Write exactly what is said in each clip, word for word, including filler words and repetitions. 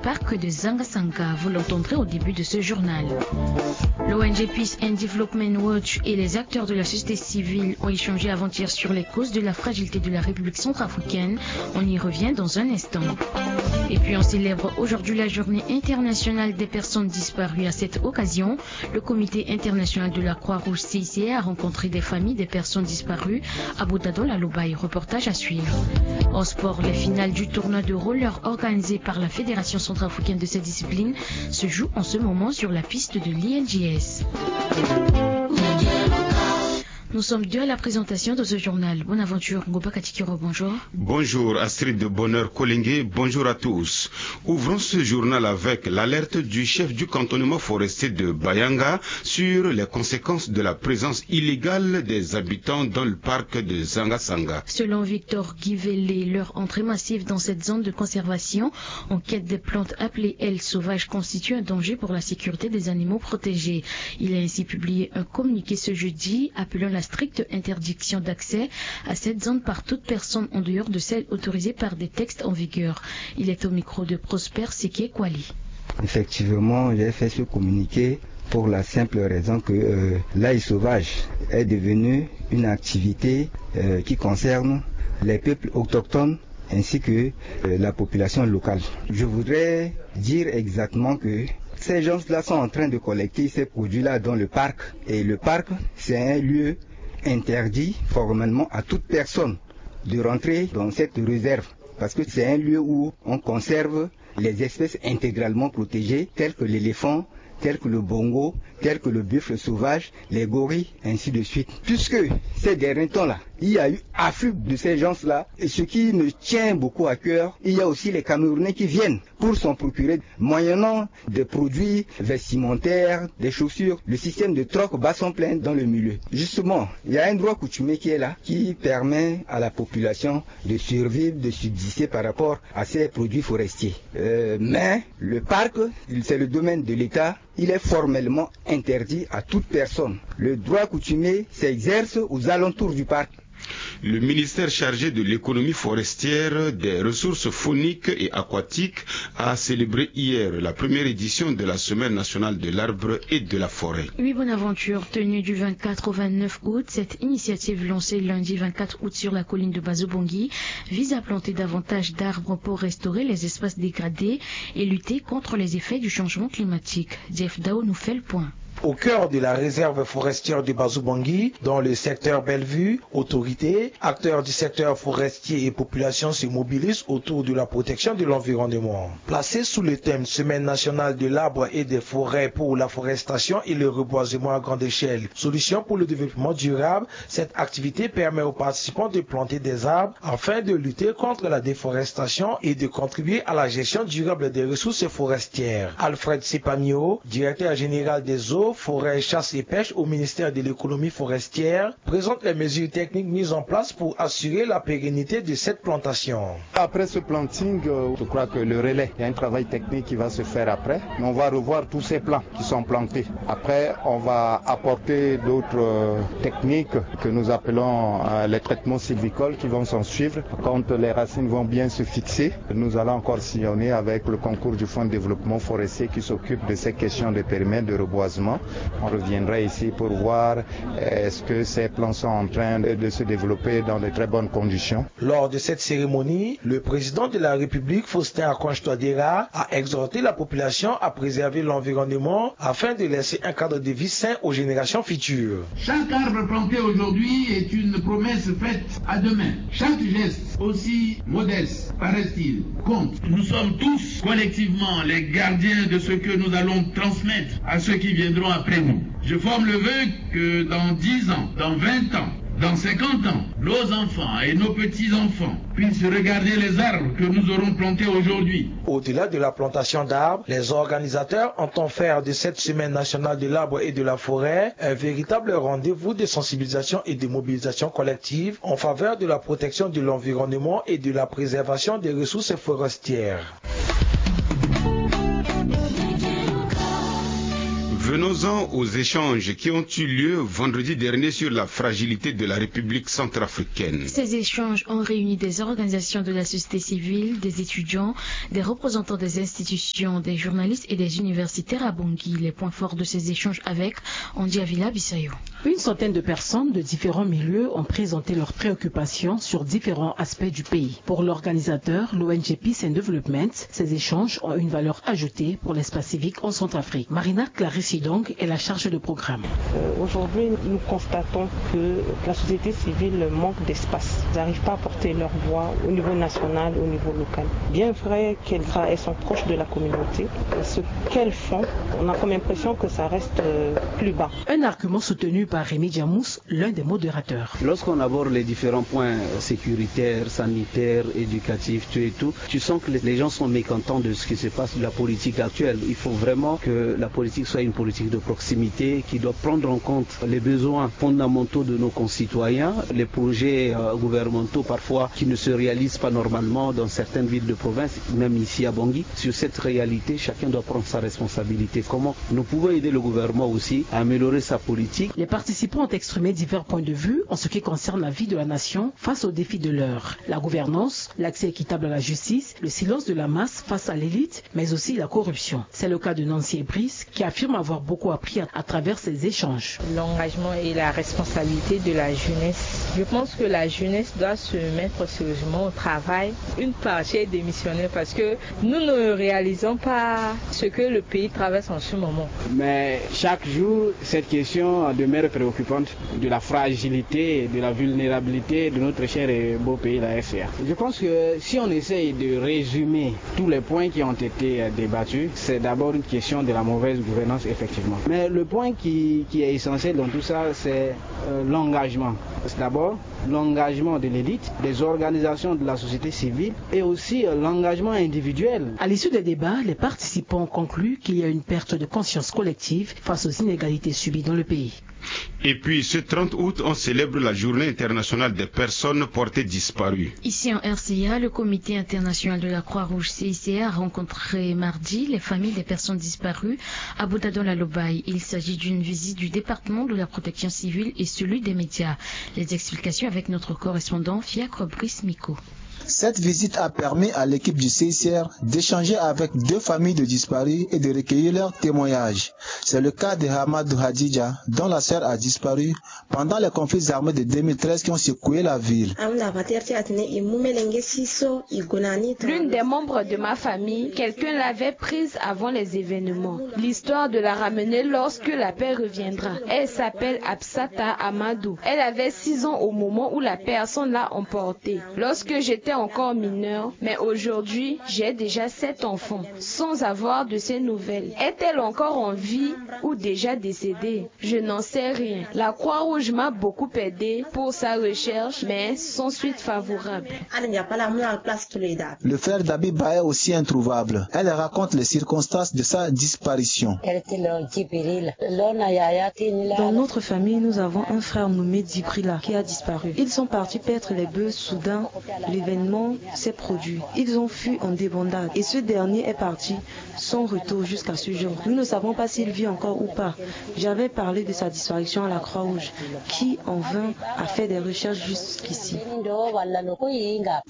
parc de Zanga-Sanga. Vous l'entendrez au début de ce journal. L'O N G Peace and Development Watch et les acteurs de la société civile ont échangé avant-hier sur les causes de la fragilité de la République centrafricaine. On y revient dans un instant. Et puis on célèbre aujourd'hui la journée internationale des personnes disparues. À cette occasion, le Comité international de la Croix-Rouge, C I C R, a rencontré des familles des personnes disparues à Boudadon-la-Lobaye. Reportage à suivre. En sport, les finales du tournoi de roller organisé par la Fédération centrafricaine de cette discipline se jouent en ce moment sur la piste de l'I N J S. Nous sommes deux à la présentation de ce journal. Bonaventure Ngoba Katikiro, bonjour. Bonjour Astrid de Bonheur Kolenge, bonjour à tous. Ouvrons ce journal avec l'alerte du chef du cantonnement forestier de Bayanga sur les conséquences de la présence illégale des habitants dans le parc de Zanga-Sanga. Selon Victor Guivele, leur entrée massive dans cette zone de conservation en quête des plantes appelées, elles, sauvages constitue un danger pour la sécurité des animaux protégés. Il a ainsi publié un communiqué ce jeudi appelant la stricte interdiction d'accès à cette zone par toute personne en dehors de celle autorisée par des textes en vigueur. Il est au micro de Prosper Sekekwali. Effectivement, j'ai fait ce communiqué pour la simple raison que euh, l'ail sauvage est devenu une activité euh, qui concerne les peuples autochtones ainsi que euh, la population locale. Je voudrais dire exactement que ces gens-là sont en train de collecter ces produits-là dans le parc. Et le parc, c'est un lieu interdit formellement à toute personne de rentrer dans cette réserve. Parce que c'est un lieu où on conserve les espèces intégralement protégées, telles que l'éléphant, telles que le bongo, telles que le buffle sauvage, les gorilles, ainsi de suite. Puisque ces derniers temps-là, il y a eu afflux de ces gens-là, et ce qui me tient beaucoup à cœur, il y a aussi les Camerounais qui viennent pour s'en procurer, moyennant des produits vestimentaires, des chaussures. Le système de troc bat son plein dans le milieu. Justement, il y a un droit coutumier qui est là, qui permet à la population de survivre, de subsister par rapport à ces produits forestiers. Euh, mais le parc, c'est le domaine de l'État, il est formellement interdit à toute personne. Le droit coutumier s'exerce aux alentours du parc. Le ministère chargé de l'économie forestière, des ressources fauniques et aquatiques a célébré hier la première édition de la Semaine nationale de l'arbre et de la forêt. Oui, Bonaventure, tenue du vingt-quatre au vingt-neuf août, cette initiative lancée lundi vingt-quatre août sur la colline de Bazobongi vise à planter davantage d'arbres pour restaurer les espaces dégradés et lutter contre les effets du changement climatique. Jeff Dao nous fait le point. Au cœur de la réserve forestière de Bazoubangi, dans le secteur Bellevue, autorités, acteurs du secteur forestier et population se mobilisent autour de la protection de l'environnement. Placée sous le thème Semaine nationale de l'arbre et des forêts pour la forestation et le reboisement à grande échelle, solution pour le développement durable, cette activité permet aux participants de planter des arbres afin de lutter contre la déforestation et de contribuer à la gestion durable des ressources forestières. Alfred Sepamio, directeur général des eaux, forêts, chasse et pêche au ministère de l'économie forestière, présente les mesures techniques mises en place pour assurer la pérennité de cette plantation. Après ce planting, euh, je crois que le relais, il y a un travail technique qui va se faire après. Mais on va revoir tous ces plants qui sont plantés. Après, on va apporter d'autres euh, techniques que nous appelons euh, les traitements sylvicoles qui vont s'en suivre. Quand les racines vont bien se fixer, nous allons encore sillonner avec le concours du Fonds de développement forestier qui s'occupe de ces questions de périmètre de reboisement. On reviendra ici pour voir euh, est-ce que ces plants sont en train de, de se développer dans de très bonnes conditions. Lors de cette cérémonie, le président de la République, Faustin Archange Touadéra, a exhorté la population à préserver l'environnement afin de laisser un cadre de vie sain aux générations futures. Chaque arbre planté aujourd'hui est une promesse faite à demain. Chaque geste, aussi modeste paraisse-t-il, compte. Nous sommes tous collectivement les gardiens de ce que nous allons transmettre à ceux qui viendront après nous. Je forme le vœu que dans dix ans, dans vingt ans, dans cinquante ans, nos enfants et nos petits-enfants puissent regarder les arbres que nous aurons plantés aujourd'hui. Au-delà de la plantation d'arbres, les organisateurs entendent faire de cette Semaine nationale de l'arbre et de la forêt un véritable rendez-vous de sensibilisation et de mobilisation collective en faveur de la protection de l'environnement et de la préservation des ressources forestières. Venons Aux échanges qui ont eu lieu vendredi dernier sur la fragilité de la République centrafricaine. Ces échanges ont réuni des organisations de la société civile, des étudiants, des représentants des institutions, des journalistes et des universitaires à Bangui. Les points forts de ces échanges avec Andy Avila Bissayo. Une centaine de personnes de différents milieux ont présenté leurs préoccupations sur différents aspects du pays. Pour l'organisateur, l'O N G Peace and Development, ces échanges ont une valeur ajoutée pour l'espace civique en Centrafrique. Marina Clarisse Idong est la chargée de programme. Euh, aujourd'hui, nous constatons que la société civile manque d'espace. Ils n'arrivent pas à porter leur voix au niveau national, au niveau local. Bien vrai qu'elles elles sont proches de la communauté, ce qu'elles font, on a comme impression que ça reste euh, plus bas. Un argument soutenu par Rémi Djamous, l'un des modérateurs. Lorsqu'on aborde les différents points sécuritaires, sanitaires, éducatifs, tout et tout, tu sens que les gens sont mécontents de ce qui se passe, de la politique actuelle. Il faut vraiment que la politique soit une politique de proximité qui doit prendre en compte les besoins fondamentaux de nos concitoyens, les projets euh, gouvernementaux parfois qui ne se réalisent pas normalement dans certaines villes de province, même ici à Bangui. Sur cette réalité, chacun doit prendre sa responsabilité. Comment nous pouvons aider le gouvernement aussi à améliorer sa politique ? Les participants ont exprimé divers points de vue en ce qui concerne la vie de la nation face aux défis de l'heure. La gouvernance, l'accès équitable à la justice, le silence de la masse face à l'élite, mais aussi la corruption. C'est le cas de Nancy Ebris, qui affirme avoir beaucoup appris à, à travers ces échanges. L'engagement et la responsabilité de la jeunesse. Je pense que la jeunesse doit se mettre sérieusement au travail. Une partie est démissionnaire parce que nous ne réalisons pas ce que le pays traverse en ce moment. Mais chaque jour, cette question demeure préoccupante de la fragilité et de la vulnérabilité de notre cher et beau pays, la R C A. Je pense que si on essaye de résumer tous les points qui ont été euh, débattus, c'est d'abord une question de la mauvaise gouvernance, effectivement. Mais le point qui, qui est essentiel dans tout ça, c'est euh, l'engagement. C'est d'abord l'engagement de l'élite, des organisations de la société civile et aussi euh, l'engagement individuel. À l'issue des débats, les participants ont conclu qu'il y a une perte de conscience collective face aux inégalités subies dans le pays. Et puis, ce trente août, on célèbre la Journée internationale des personnes portées disparues. Ici en R C A, le Comité international de la Croix-Rouge C I C R a rencontré mardi les familles des personnes disparues à Bouddha dans la Lobaye. Il s'agit d'une visite du département de la protection civile et celui des médias. Les explications avec notre correspondant Fiacre Brice Miko. Cette visite a permis à l'équipe du C I C R d'échanger avec deux familles de disparus et de recueillir leurs témoignages. C'est le cas de Hamadou Hadidja, dont la sœur a disparu pendant les conflits armés de deux mille treize qui ont secoué la ville. L'une des membres de ma famille, quelqu'un l'avait prise avant les événements. L'histoire de la ramener lorsque la paix reviendra. Elle s'appelle Absata Amadou. Elle avait six ans au moment où la personne l'a emportée. Lorsque j'étais encore mineure, mais aujourd'hui, j'ai déjà sept enfants, sans avoir de ses nouvelles. Est-elle encore en vie ou déjà décédée ? Je n'en sais rien. La Croix-Rouge m'a beaucoup aidé pour sa recherche, mais sans suite favorable. Le frère d'Abiba est aussi introuvable. Elle raconte les circonstances de sa disparition. Dans notre famille, nous avons un frère nommé Dibrila qui a disparu. Ils sont partis perdre les bœufs soudain. L'événement s'est produit. Ils ont fui en débandade et ce dernier est parti sans retour jusqu'à ce jour. Nous ne savons pas s'il vit encore ou pas. J'avais parlé de sa disparition à la Croix-Rouge, qui en vain a fait des recherches jusqu'ici.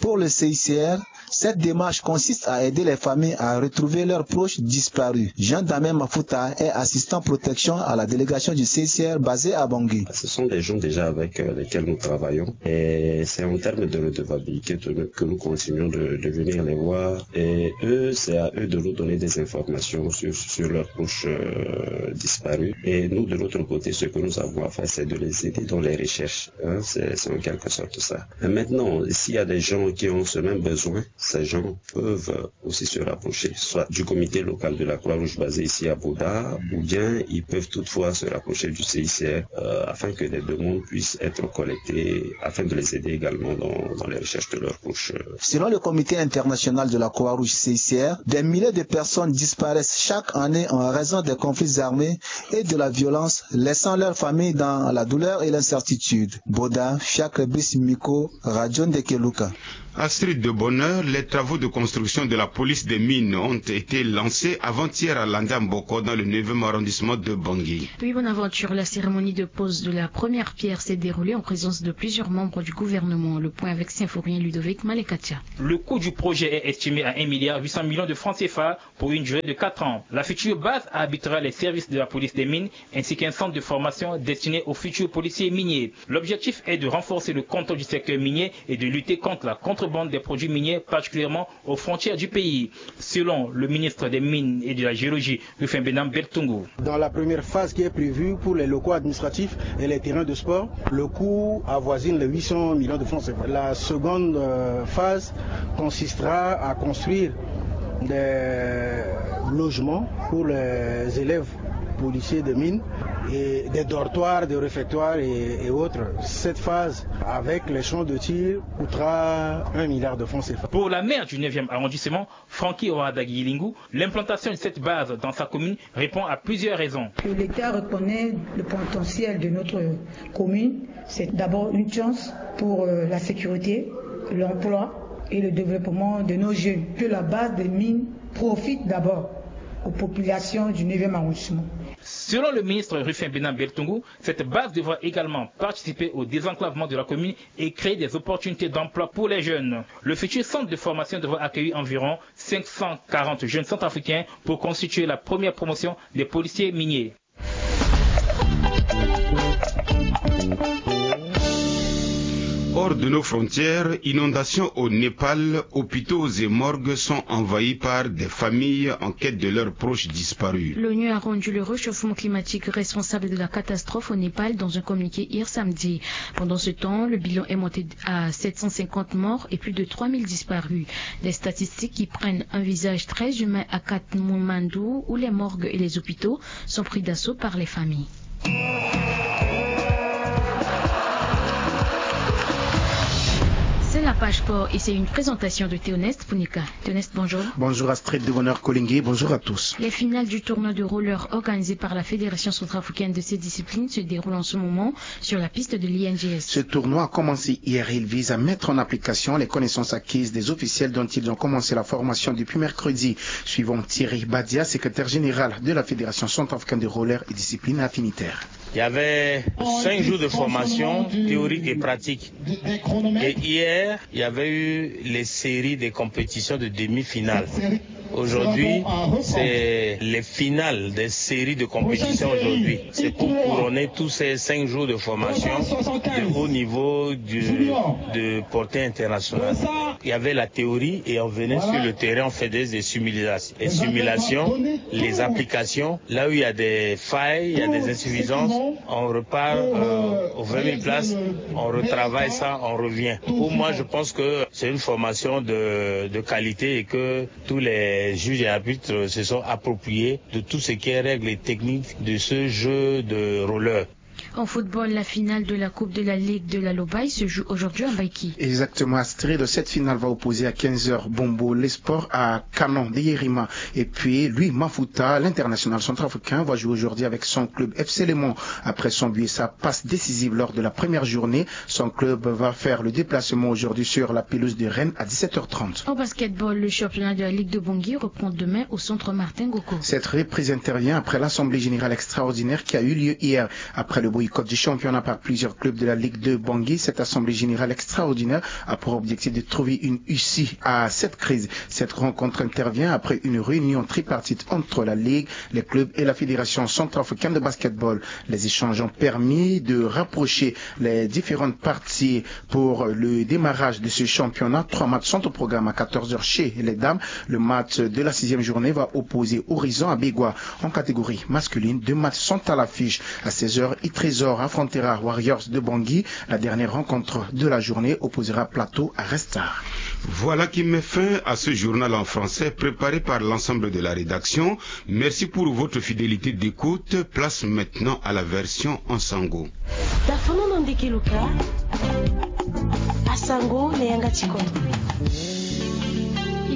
Pour le C I C R, cette démarche consiste à aider les familles à retrouver leurs proches disparus. Jean Damien Mafuta est assistant protection à la délégation du C I C R basée à Bangui. Ce sont des gens déjà avec euh, lesquels nous travaillons et c'est en termes de redevabilité que nous, que nous continuons de, de venir les voir. Et eux, c'est à eux de nous donner des informations sur, sur leurs proches euh, disparus. Et nous, de l'autre côté, ce que nous avons à faire, c'est de les aider dans les recherches. Hein, c'est en quelque sorte ça. Et maintenant, s'il y a des gens qui ont ce même besoin, ces gens peuvent aussi se rapprocher, soit du comité local de la Croix-Rouge basé ici à Bouddha, ou bien ils peuvent toutefois se rapprocher du C I C R euh, afin que des demandes puissent être collectées, afin de les aider également dans, dans les recherches de leurs proches. Selon le Comité international de la Croix-Rouge C I C R, des milliers de personnes disparaissent chaque année en raison des conflits armés et de la violence, laissant leurs familles dans la douleur et l'incertitude. Boda, Fiacre Brice Miko, Radio Ndekeluka. Astrid de Bonheur, les travaux de construction de la police des mines ont été lancés avant-hier à Landa Mboko dans le neuvième arrondissement de Bangui. Oui, bonne aventure. La cérémonie de pose de la première pierre s'est déroulée en présence de plusieurs membres du gouvernement. Le point avec Symphorien Ludovic Malekatia. Le coût du projet est estimé à un milliard huit cents millions de francs C F A pour une durée de quatre ans. La future base abritera les services de la police des mines ainsi qu'un centre de formation destiné aux futurs policiers miniers. L'objectif est de renforcer le contrôle du secteur minier et de lutter contre la contrebande des produits miniers, particulièrement aux frontières du pays, selon le ministre des Mines et de la Géologie, Rufin Benam Beltungu. Dans la première phase qui est prévue pour les locaux administratifs et les terrains de sport, le coût avoisine les huit cents millions de francs C F A. La seconde euh, phase consistera à construire des logements pour les élèves policiers de mines et des dortoirs, des réfectoires et, et autres. Cette phase, avec les champs de tir, coûtera un milliard de francs C F A. Pour la maire du neuvième arrondissement, Francky Oadagi Ilingu, l'implantation de cette base dans sa commune répond à plusieurs raisons. L'État reconnaît le potentiel de notre commune. C'est d'abord une chance pour euh, la sécurité, l'emploi et le développement de nos jeunes. Que la base des mines profite d'abord aux populations du neuvième arrondissement. Selon le ministre Rufin Benam Beltungu, cette base devra également participer au désenclavement de la commune et créer des opportunités d'emploi pour les jeunes. Le futur centre de formation devra accueillir environ cinq cent quarante jeunes centrafricains pour constituer la première promotion des policiers miniers. Hors de nos frontières, inondations au Népal, hôpitaux et morgues sont envahis par des familles en quête de leurs proches disparus. L'ONU a rendu le réchauffement climatique responsable de la catastrophe au Népal dans un communiqué hier samedi. Pendant ce temps, le bilan est monté à sept cent cinquante morts et plus de trois mille disparus. Des statistiques qui prennent un visage très humain à Kathmandu, où les morgues et les hôpitaux sont pris d'assaut par les familles. C'est la page sport et c'est une présentation de Théoneste Punika. Théoneste, bonjour. Bonjour Astrid de Bonheur Kolingui, bonjour à tous. Les finales du tournoi de roller organisé par la Fédération centrafricaine de ces disciplines se déroulent en ce moment sur la piste de l'I N G S. Ce tournoi a commencé hier et il vise à mettre en application les connaissances acquises des officiels dont ils ont commencé la formation depuis mercredi, suivant Thierry Badia, secrétaire général de la Fédération centrafricaine de roller et discipline affinitaire. Il y avait cinq jours de formation théorique et pratique. Et hier, il y avait eu les séries des compétitions de demi-finale. Aujourd'hui, c'est les finales des séries de compétitions aujourd'hui. C'est pour couronner tous ces cinq jours de formation de haut niveau du, de portée internationale. Il y avait la théorie et on venait sur le terrain, on faisait des simulations. Les simulations, les applications, là où il y a des failles, il y a des insuffisances, on repart euh, aux vingt mille places, on retravaille ça, on revient. Pour moi, je pense que c'est une formation de, de qualité et que tous les juges et arbitres se sont appropriés de tout ce qui est règles et techniques de ce jeu de roller. En football, la finale de la Coupe de la Ligue de la Lobaye se joue aujourd'hui à Baïki. Exactement, Astrid. Cette finale va opposer à quinze heures Bombo l'Esport à Canon de Yerima. Et puis, lui, Mafuta, l'international centrafricain, va jouer aujourd'hui avec son club F C Léman. Après son but et sa passe décisive lors de la première journée, son club va faire le déplacement aujourd'hui sur la pelouse de Rennes à dix-sept heures trente. Au basketball, le championnat de la Ligue de Bangui reprend demain au centre Martin Ngoko. Cette reprise intervient après l'assemblée générale extraordinaire qui a eu lieu hier. Après le boycott du championnat par plusieurs clubs de la Ligue de Bangui, cette assemblée générale extraordinaire a pour objectif de trouver une issue à cette crise. Cette rencontre intervient après une réunion tripartite entre la Ligue, les clubs et la Fédération centrafricaine de basketball. Les échanges ont permis de rapprocher les différentes parties pour le démarrage de ce championnat. Trois matchs sont au programme à quatorze heures chez les dames. Le match de la sixième journée va opposer Horizon à Bégua. En catégorie masculine, deux matchs sont à l'affiche. À seize heures, Itrésor affrontera Warriors de Bangui. La dernière rencontre de la journée opposera Plateau à Resta. Voilà qui met fin à ce journal en français préparé par l'ensemble de la rédaction. Merci pour votre fidélité d'écoute. Place maintenant à la version en sango. Dafono na ndeke loka asango na yanga tikono.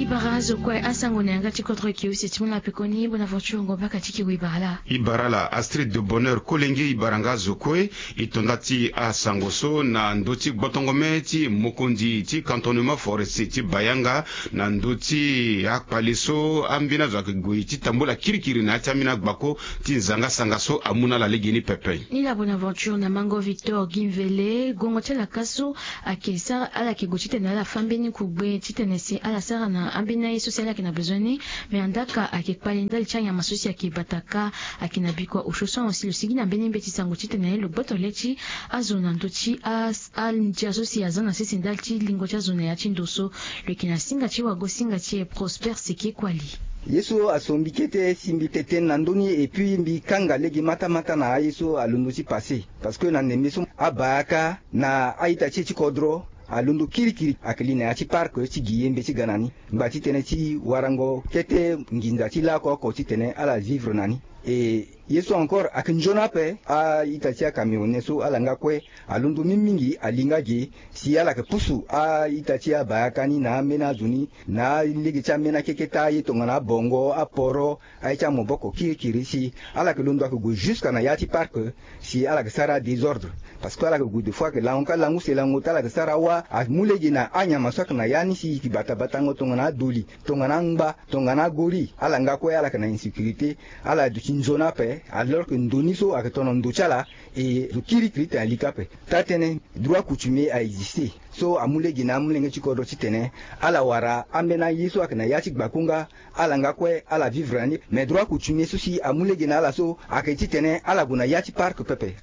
Bara azo kue asango na yanga ti kodro eke use ti mu na pekoni. Bonaventure Ngombaka ti kiwi bara la. E bara la Astrid de Bonheur Kolenge e bara nga azo kue. E tonda ti asango so na ndö ti gbotongo me ti mokonzi ti cantonnement forestier ti Bayanga, na ndö ti akpale so ambeni azo ayeke gue ti tambula kirikiri na ya ti ambeni agbako ti nzanga sanga so amu na ala legeni pepe. Ni la Bonaventure na mango Victor Gimvele, gongo ti ala ka so ayeke sara ala yeke gue titene ala fâ mbeni kugbe titene si ala sara na ambeni aye so si ala yeke na bezoin ni. Me andaka ayeke kpale ndali ti anyama so si ayeke bata ka. Ayeke na bikua osio so ahon si lo sigi na mbeni mbeti sango titene lo gboto le ti azo na ndö ti a, andia so si aza na sese ndali ti lingo ti azo na ya ti ndo so. Lo yeke na singa ti wago singa ti e Prosper Seke Kuali. Ye so aso mbi kete si mbi tene na ndö ni et puis mbi kanga lege matamata na aye so alondo ti passé. Parce que na ndembe so abayaka na a-ita ti e ti kodro alondo kirikiri ayeke li na ya ti parc ti gi ye mbe ti ga na ni. Ngba titene ti warango kete nginza ti laoko oko titene ala vivre na ni. E ye so encore ayeke nzoni ape. A-ita ti acamerounais so ala nga kue alondo mingi mingi ali nga ge si ala yeke pusu a-ita ti abayaka ni na ambeni azo ni na alege ti ambeni akeketa aye tongana abongo, aporo, aye ti amoboko kirikiri si ala yeke londo ayeke gue jusqu'à na ya ti parc. Si ala yeke sara adésordre parce que ala yeke gue de fois ayeke lango ka langu se lango te ala yeke sara wâ amu lege na anyama so ayeke na ya ni si e yeke bata batango tongana adoli, tongana angba, tongana agori ala nga kue ala yeke na insécurité. Ala duti nzoni ape alors que ndo ni so ayeke tono ndo ti ala. E zo kirikiri tene ali ka ape. Taa tënë droit coutumier a existe so amu lege na amolenge ti kodro titene ala wara ambeni aye so ayeke na ya ti gbakonga. Ala nga kue ala vivre na ni mais droit coutumier so si amu lege na ala so ayeke titene ala gue na ya ti parc pepe.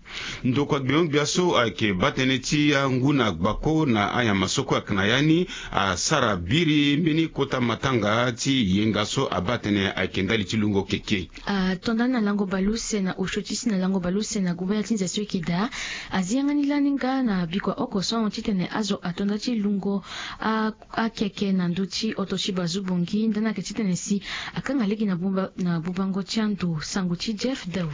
Ndokua gbia-gbia so ayeke baa tënë ti angu na gbako na anyama so kue ayeke na ya ni asara biri mbeni kota matanga ti yenga so abaa tënë ayeke ndali ti lungo keke. Ato ndani na lango baleuse na osio ti si na lango baleuse na gumbaya ti nze so e yeke daa. Azi yanga ni lani nga na bikua oko so ahon titene azo ato nda ti lungo a akeke na ndö ti oto ti bazu bongi ndani ayeke titene si akanga lege na bumba na bumbango ti ando sango ti Jeff Dau.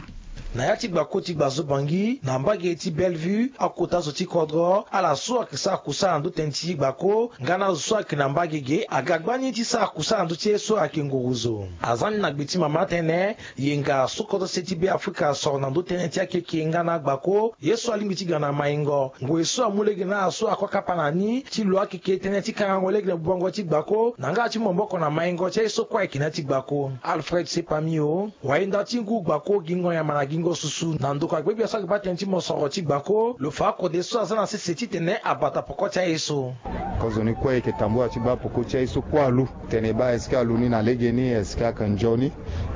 Na ya ti gbako ti gbazo bangi na mbage ti Bellevue akota zo ti kodro ala so ayeke sara kusala na ndö tënë ti gbako nga na azo so ayeke na mbage ge aga gbani ti sara kusala na ndö ti ye so ayeke nguruzo. Aza ni na gbe ti mama atene yenga so kodro se ti Be Afrika asoro na ndö tënë ti akeke nga na agbako ye so alingbi ti ga na maingo. Ngoi so amu lege na ala so akua kapa na ni ti lo akeke tënë ti kangango lege na bubango ti gbako na nga ti mombo oko na maingo ti aye so kue ayeke na ya ti gbako. Alfred Sepamio, wainda ti ngu gbako gingo nyama na gingo susu na ndokua gbia-gbia so ayeke baa tënë ti mosoro ti gbako lo fa akode so aza na sese titene abata poko ti aye so. Kozoni kue e yeke tambula ti baa poko ti aye so kue alu. Tene e baa est-ce que alu ni na legeni, est-ce que ayeke nzoni?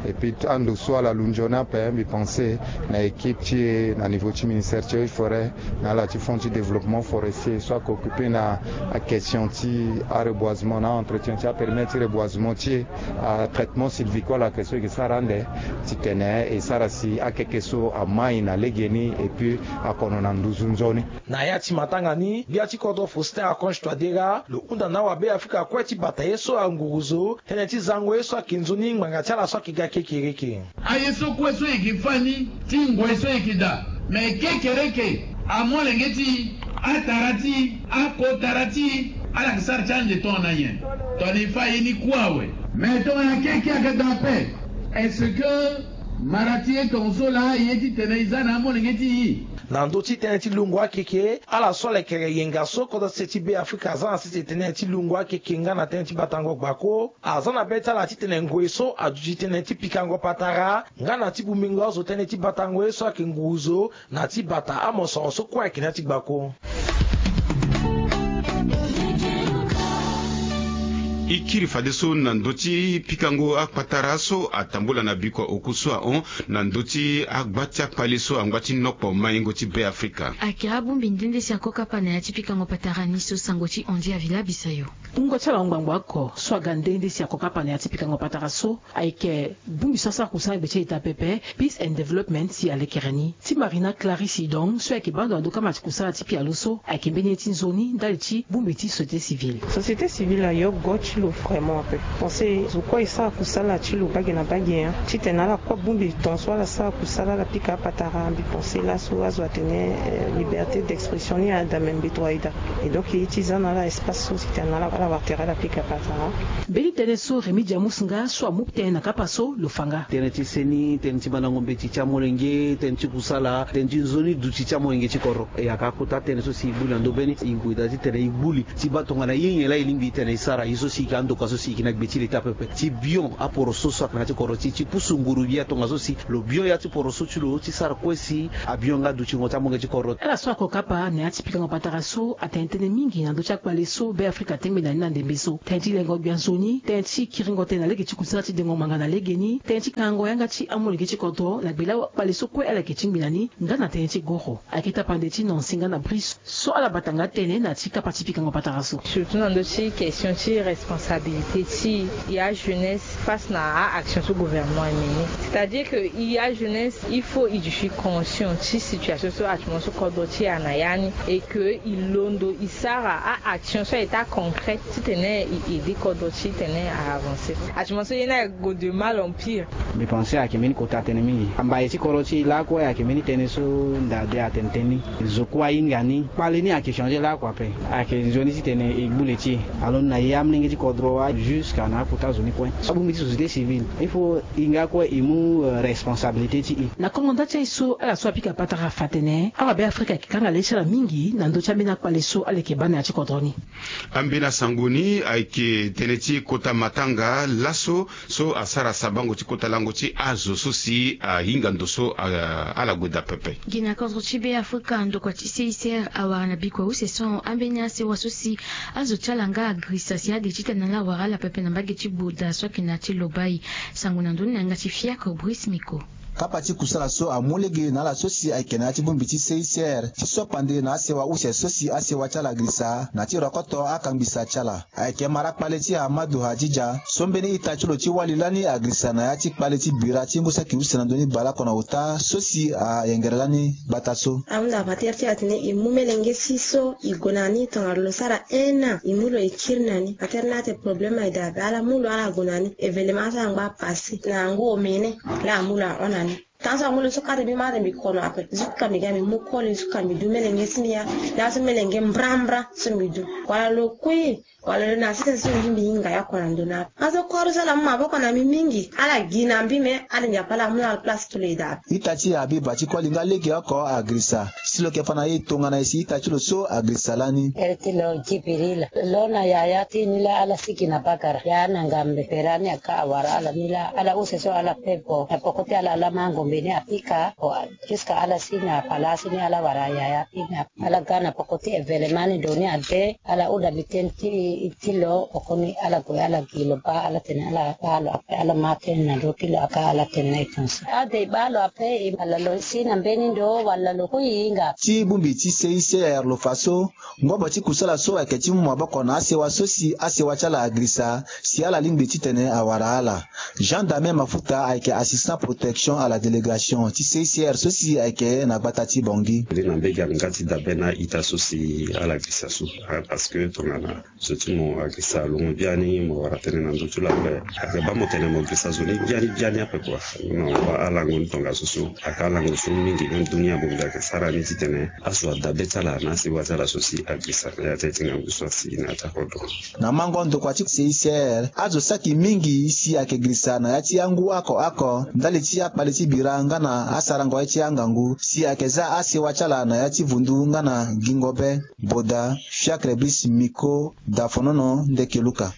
Et puis ando so ala lu nzoni ape mbi pense na équipe ti e na niveau ti ministère ti eaux et forêts na ala ti fonds ti développement forestier so ayeke occuper na akestion ti areboisement na aentretien ti apérimètre ti reboisement ti e. Atraitement sylvicole ayeke so e yeke sara ande titene e sara si akeke so amai na legeni et puis akono na nduzu nzoni. Na ya ti matanga ni gbia ti kodro Faustin Archange Touadéra lo hunda na awabe Afrika kue ti bata ye so anguruzo tënë ti zango ye so ayeke nzoni ngbanga ti ala so ayeke ga kekereke. Aye so kue so e yeke fâ ni ti ngoi so e yeke daa me kekereke amolenge ti atara ti akotara ti ala yeke sara ti ande tongana nyen? Tongana e fâ ye ni kue awe. Me tongana keke ayeke daa ape est-ce que mara ti ye tongaso laa e ye titene e za na amolenge ti e? Na ndö ti tënë ti lungo akeke ala so alekere yenga so kodro sese ti Be Afrika aza na sese tënë ti lungo akeke nga na tënë ti batango gbako aza na be ti ala titene ngoi so aduti tënë ti pikango patara nga na ti bongbingo azo tënë ti batango ye so ayeke nguruzo na ti bata amosoro so kue ayeke na ya ti gbako. E kiri fadeso na ndö ti pikango akpatara so atambula na bikua oku so ahon na ndö ti agba ti akpale so angba ti nokpo maingo ti Be Afrika. Akira abongbi nde nde si akokapa na ya ti pikango patara ni so sango ti Andy Avila Bisayo. Wungo ti ala ngbangbo oko so aga nde nde si akokapa na ya ti pikango patara so ayeke bongbi so asara kusala na gbe ti ayita pepe, Peace and Development si alekere ni. Ti Marina Clarisse Idong so ayeke baa ndo na ndo kama ti kusala ti pialo so ayeke mbeni ye ti nzoni ndali ti bongbi ti société civile. Société civile ayo goch Lo vraiment ape. Pensé zo kue e sara kusala ti lo bage na bage, hein, titene ala kue abongbi ton so ala sara kusala, ala pika apatara. Mbi pensé laso azo atene liberté d'expression ni ada me mbeto aye daa. Et donc e ye ti za na ala espace so titene ala wara tere ala pika apatara. Mbeni tënë so Rémy Diamus nga so amu tënë na kapa so lo fa nga. Tënë ti seni, tënë ti mandango mbeti ti amolenge, tënë ti kusala, tënë ti nzoni duti ti amolenge ti kodro. E yaka kota tënë so si e gbu na ndo mbeni e gue daa titene e gbu li ti baa tongana ye nyen laa e lingbi titene e sara, ye so si e yeke na ndo kua so si e yeke na gbe ti leta pepe ti bion aporoso so ayeke na ya ti kodro ti e, ti pusu nguru ya tongaso si lo bion ya ti poroso ti lo ti sara kue si abion nga dutingo ti amolenge ti kodro. Ala so ako kapa na ya ti pikango patara so atene tënë mingi na ndö ti akpale so Be Afrika atengbe na ni na ndembe so. Tënë ti lengo gbia nzoni, tënë ti kiringo tënë na lege ti kusala ti dengo ngbanga na legeni, tënë ti kangango yanga ti amolenge ti kodro na gbe laa akpale so kue ala yeke tingbi na ni, nga na tënë ti goro. Ayeke tapande ti Nancy nga na Brice so ala bata nga tënë na ti kapa ti pikango patara so. Surtout na ndö ti question ti responsabilité ti e, ajeunesse face na a-action so gouvernement e mené. C'est-à-dire que e ajeunesse il faut e duti conscient ti situation so actuellement so kodro ti e ayeke na ya ni, et que e londo e sara a-action so ayeke taa concrète titene e aider kodro titene a avancer. Actuellement so ye ni aye gue de mal en pire. Mbi pensé ayeke mbeni kota tënë mingi. Mbaye ti kodro ti e lakue ayeke mbeni tënë so nda de atene tënë ni. Zo kue ahinga ni. Kpale ni ayeke changé lakue ape. Ayeke nzoni titene e gbu le ti e. Alondo na ya amolenge ti kodro jusqu'à na akota zo ni kue. Abongbi ti société civile il faut e nga kue e mu responsabilité ti e. Na kongo nda ti aye so ala so apika patara afa atene awabe Afrika ayeke kanga le ti ala mingi na ndö ti ambeni akpale so ala yeke baa na ya ti kodro ni. Ambeni asango ni ayeke tënë ti kota matanga laso so asara sabango ti kota lango ti azo so si ahinga ndo so ala gue daa pepe. Gi na kodro ti Be Afrika, ndokua ti C I C R awara na bikua use so ambeni asewa so si azo ti ala nga agrisa si ade titene ala wara ala pepe na mbage ti Boda so ayeke na ya ti Lobaye. Sango na ndö ni na yanga ti Fiacre Brice Miko. Kapa ti kusala so amu lege na ala so si ayeke na ya ti bongbi ti C I C R ti so pande na asewa use so si asewa ti ala agrisa na ti rokoto akangbisa ti ala. Ayeke mara kpale ti Amadou Hadidja so mbeni ita ti lo ti wali lani agrisa na ya ti kpale ti bira ti ngu saki use na ndö ni baleoko na ota so si ayengere lani gbata so. Ahunda, patere ti e atene e mu melenge si so e gue na ni tongana lo sara un an e mu lo e kiri na ni. Patere ni atene problème aye daa be ala mu lo ala gue na ni. Événement so angba apassé na ngu omene laa amu lo ahon na ni. Tant so amu lo so kade mbi ma ade mbi kono ape. Zo ka mbi ga mbi mu koli, zo ka mbi du melenge ti mbi ya. Laso melenge mbrambra so mbi du. Wala lo kui, wala lo na sese so mbi hinga ya oko na ndo na ape. Azo koro so ala mu maboko na mbi mingi. Ala gi na mbi me, ala ngia pa ala mu na ala place ti lo e daa. Ita ti Habiba ti koli nga legeoko agrisa. Si lo yeke fa na e tongana e si ita ti lo so agrisa lani. Ere ti lo Djibril. Lo na yaya ti ni laa ala sigi na bagara. Yaya na ngambe. Bere ni aka awara ala ni laa. Ala use so ala pe bo. Na poko ti ala ala ma ngombe ni apika. Jusqu'à ala si na palasi ni ala wara yaya ti ni. Ala ga na poko ti événement ni ndo ni ade. Ala huda mbi tënë ti lo oko ni ala gue ala gi lo baa ala tene ala baa lo ape ala ma tënë na ndö ti lo aka ala tene na e tongaso. Ade e baa lo ape e ala lo si na mbeni ndo wala lo kui e hinga. Ti bongbi ti C I C R lo fa so ngombo ti kusala so ayeke ti mu maboko na asewa so si asewa ti ala agrisa si ala lingbi titene awara ala. Jean Damien Mafuta ayeke assistant protection à la délégation ti C I C R so si ayeke na gbata ti Bangui. Li na mbage ala nga ti dabe na ita so si ala girisa so. Ah, parce que tongana zo ti mo agrisa alongo biani mo wara tënë na ndö ti lo ape, ayeke baa mo tene mo girisa zo ni biani biani ape kua. Non, alango ni tongaso so ayeke alango so mingi ni dunia mobimba ayeke sara ni titene azo adabe ti ala na asewa ti ala so si agrisa na ya ti aye ti ngangu so asi na ya ti akodro. Na mango ndokua ti C I C R, azo saki mingi si ayeke girisa na ya ti angu oko oko ndali ti akpale ti bira nga na asarango ye ti angangu si ayeke za asewa ti ala na ya ti vundu nga na gingo be. Boda, Fiacre Brice Miko, Dafonono, Ndeke Luka.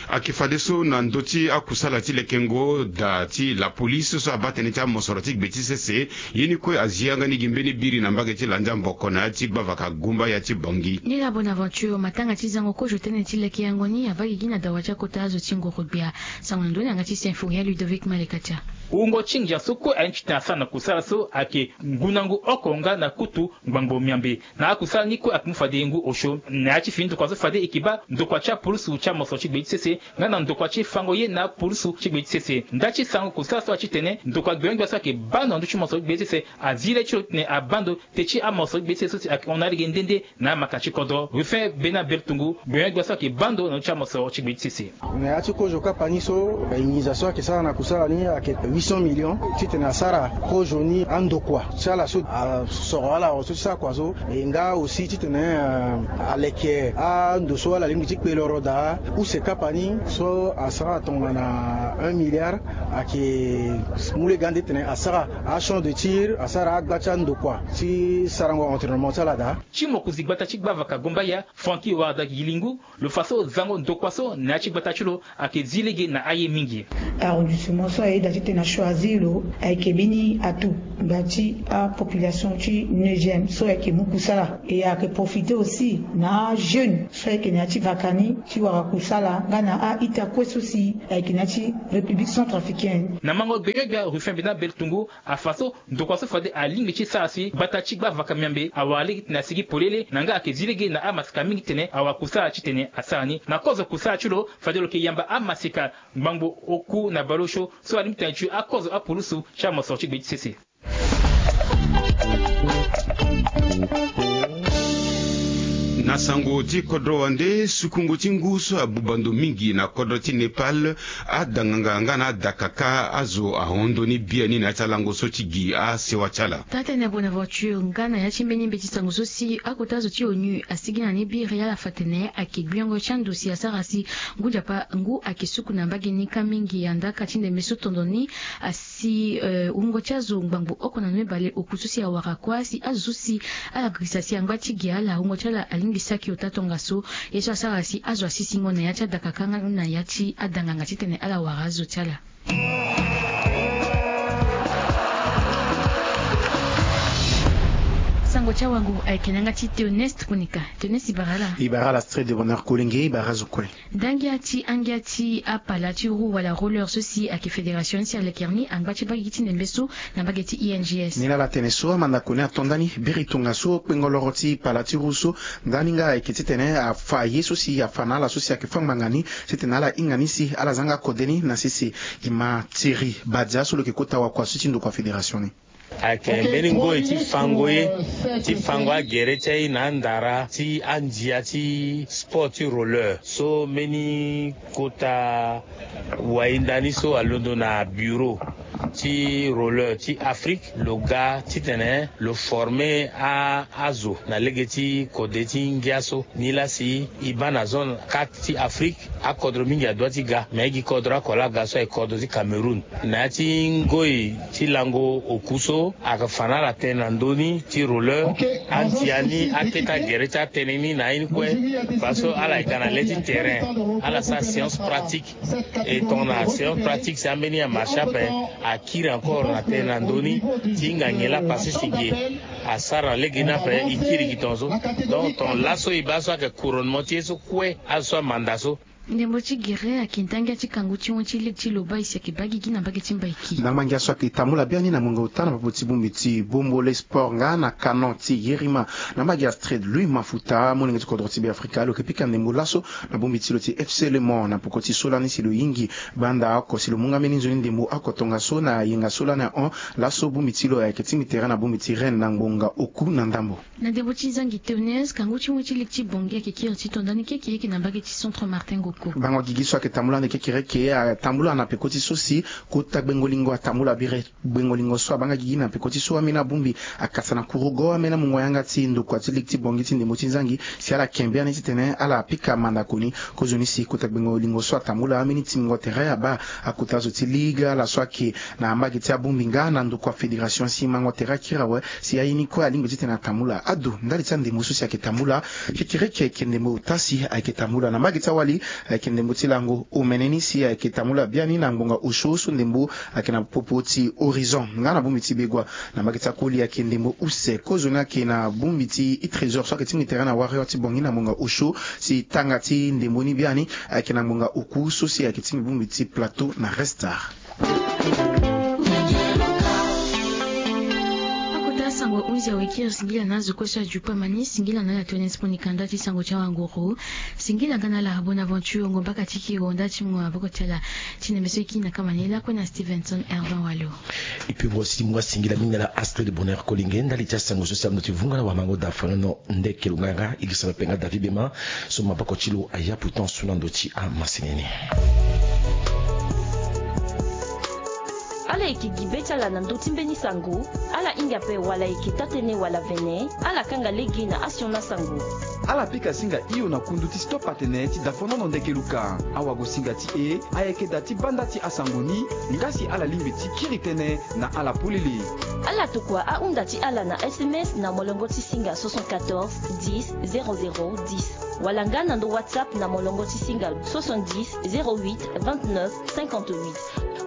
Ayeke fadeso na ndö ti akusala ti lekengo da ti lapolisi so abaa tënë ti amosoro ti gbe ti sese. Ye ni kue azi yanga ni gi mbeni biri na mbage ti Landia Mboko na ya ti gbavaka gumba ya ti Bangui. Nila Bonaventure, matanga ti zango kozo tënë ti leke yango ni avagi gi na dawa ti akota azo ti ngoro-gbia. Sango na ndö ni yanga ti Symphorien Ludovic Malekatia. Wungo ti ngia so kue aye ni titene asara na kusala so ayeke ngu na ngu oko nga na kutu ngbangbo miambe. Na akusala ni kue ayeke mu fade e ngu osio na ya ti fini ndokua so fade e yeke baa ndokua ti apulusu ti amosoro ti gbe ti sese nga na ndokua ti fango ye na apulusu ti gbe ti sese. Nda ti sango kusala so aye titene ndokua gbengbe gbia so ayeke baa ndo na ndö ti mosoro ti gbe ti sese azi le ti lo titene abaa ndo te ti amosoro ti gbe ti sese so si ayeke hon na alege nde nde na amaka ti kodro. Rufin Bena Bertungu, gbengbe gbia so ayeke baa ndo na ndö ti amosoro ti gbe ti sese. Na ya ti kozo kapa ni so, eh, nginza so ayeke sara na kusala ni ayeke huit cents millions titene asara kozo ni andokua ti ala so asoro ala oro so ti sara kua so. E nga aussi titene, eh, aleke ando so ala lingbi ti kpe loro daa use kapa ni so asara tongana un milliard. Ayeke mu lege ande titene asara achamp de tir, asara agba ti andokua ti sarango entraînement ti ala daa. Ti mokonzi gbata ti gbavaka Gombaya, Francky Warda Yilingu, lo fa so zango ndokua so na ya ti gbata ti lo ayeke zi lege na aye mingi. Arrondissement so ayeda titene achoisir lo ayeke mbeni atout nga ti apopulation ti neuvième so ayeke mu kusala. E ayeke profiter aussi na ajeune so ayeke na ya ti vaka ni ti wara kusala nga na a-ita kue so si ayeke na ya ti République centrafricaine. Na mango gbengbe gbia Rufin Bena Bertungu afa so ndokua so fade alingbi ti sara si gbata ti gbavaka miambe awara lege titene asigi polele na nga ayeke zi lege na amaseka mingi titene awara kusala titene asara ni. Na kozo kusala ti lo fade lo yeke yamba amaseka ngbangbo oku na baleosio so alingbi titene ti akozo apulusu ti amosoro ti gbe ti sese. Na sango ti kodro wande, sukungu ti ngu so abuba ndo mingi na kodro ti Népal, adanganga nga na adakaka azo ahon ndo ni biani na ya ti alango so ti gi asewa ti ala. Taa-tënë Bonaventure nga na ya ti mbeni mbeti sango so si akota zo ti ONU asigi na ni biri ala fa tene ayeke gbiongo ti ando si asara si ngu nzapa ngu ayeke suku na mbage ni ka mingi. Andaka ti ndembe so tondo ni asi, eh, wungo ti azo ngbangbo oko na nubale oku so si awara kuâ si azo so si ala girisa si angba ti ge ala wungo ti ala alingbi saki ota tongaso. Ye so asara si azo asisingo na ya ti adakaka nga na ya ti adanganga titene ala wara azo ti ala. Sango ti awango ayeke na yanga ti Théoneste Konika. Théoneste, e bara ala. E bara ala Astrid de Bonheur Kolenge, e bara azo kue. Ndangia ti angia ti apala ti roue wala roller so si ayeke fédération ni si alekere ni angba ti baa gigi ti ndembe so na mbage ti I N G S. Ni laa ala tene so amandako ni ato ndani biri tongaso kpengo loro ti pala ti roue so. Ndani nga ayeke titene afa ye so si afa na ala so si ayeke fâ ngbanga ni titene ala hinga ni si ala zanga kode ni na sese. E ma Thierry Badia so lo yeke kota wakua so ti ndokua fédération ni. Ayeke mbeni ngoi ti fango ye, ti fango agere ti aye na andara ti andia ti sport ti roller so mbeni kota wahinda ni so alondo na bureau ti roller ti Afrique, lo ga titene lo former a, azo na lege ti kode ti ngia so. Nilaa si e baa na zone quatre ti Afrique, akodro mingi adua ti ga, me e gi kodro oko laa aga so ayeke kodro ti Cameroun. Na ya ti ngoi ti lango oku so, ayeke fa na ala tënë na ndö ni ti roller. Andia ni akete agere ti atënë ni na aye ni kue. Fa so ala yeke ga na le ti terrain, ala sara séance pratique. E tongana séance pratique si ambeni amarché ape, akiri encore na tënë na ndö ni ti hinga nyen laa pase si ge. Asara na lege ni ape, e kiri gi tongaso. Donc tongana laso e baa so ayeke couronnement ti ye so kue, azo so amanda so. Ndembo ti gere ayeke ndangia ti kangu ti hon ti lege ti lobai si ayeke baa gigi na mbage ti Mbaiki. Na ngbanga so ayeke tambula biani na mungo ota na popo ti bongbi ti Bombole Sport nga na canon ti Yerima. Na mbage Astrid Louis Mafuta, molenge ti kodro ti Beafrika, lo yeke pika ndembo laso na bongbi ti lo ti F C Le Mans na poko ti so lani si lo yingi banda oko si lo mu nga mbeni nzoni ndembo oko tongaso na yenga so lani ahon. Laso bongbi ti lo ayeke tingbi tere na bongbi ti Rennes na ngbonga oku na ndambo. Na ndembo ti zangi Théoneste, kangu ti hon ti lege ti Bangui ayeke kiri ti to ndani keke yeke na mbage ti Centre Martin Ngoko. Bango gigi so ayeke tambula ande kekereke atambula na peko ti so si kota gbengo lingo atambula biri. Gbengo lingo so abaa nga gigi na peko ti so ambeni abongbi akasa na kurugo ambeni amungo yanga ti ndokua ti lege ti Bangui ti ndembo ti zangi si ala ke biani titene ala pika mandako ni. Kozoni si kota gbengo lingo so atambula ambeni timingo tere abaa akota zo ti liga ala so ayeke na mbage ti abongbi nga na ndokua fédération si mango tere akiri awe si aye ni kue alingbi titene atambula ado ndali ti andembo so si ayeke tambula. Kekereke ayeke ndembo ota si ayeke tambula na mbage ti awali. Ayeke ndembo ti lango omene ni si ayeke tambula biani na ngbonga osio so ndembo ayeke na popo ti Horizon nga na bongbi ti Begua. Na mbage ti akoli ayeke ndembo use. Kozoni ayeke na bongbi ti Trésor so ayeke tingbi tere na Warrior ti Bangui na ngbonga osio. Si tanga ti ndembo ni biani ayeke na ngbonga oku so si ayeke tingbi bongbi ti Plateau na Restar. Awekiri singila na azo kue so ajupa mani singila na ala tone ti poni kanda ti sango ti awanguru. Singila nga na ala Bonaventure Ngomba Katiki honda ti mungo maboko ti ala. Ti nembe so e kiri na kamani lakue na Stevenson Hervan Walo. E pe mo si mo asingila mingi na ala Astrid Bonheur Kolinge ndali ti asango so si alondo ti vunga na wamango da fanono ndeke lunganga e gisa na penga David Bema. So maboko ti lo aya pourtant so na ndo ti amasene ni. Ala yeke gi be ti ala na ndö ti mbeni sango. Ala hinga ape wala ayeke taa-tënë wala vene. Ala kanga lege na asioni asango. Ala pika singa hio na kundu ti stop atene ti dafonono ndeke luka. Awagosinga ti e ayeke daa ti banda ti asango ni. Nga si ala lingbi ti kiri tënë na ala polele. Ala tokua ahunda ti ala na sms na molongo ti singa soixante-quatorze dix zéro zéro dix. Wala nga na ndo whatsapp na molongo ti singa soixante-dix zéro huit vingt-neuf cinquante-huit.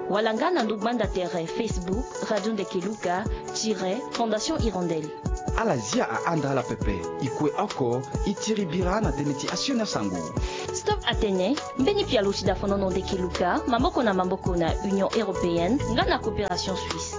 Wala nga na ndo gbanda tere facebook radio ndeke luka tire fondation hirondelle. Ala zia ahanda ala pepe. E kue oko e tiri bira na tënë ti asioni asango. Stop atene mbeni pialo ti dafonono ndeke luka maboko na maboko na union européenne nga na coopération suisse.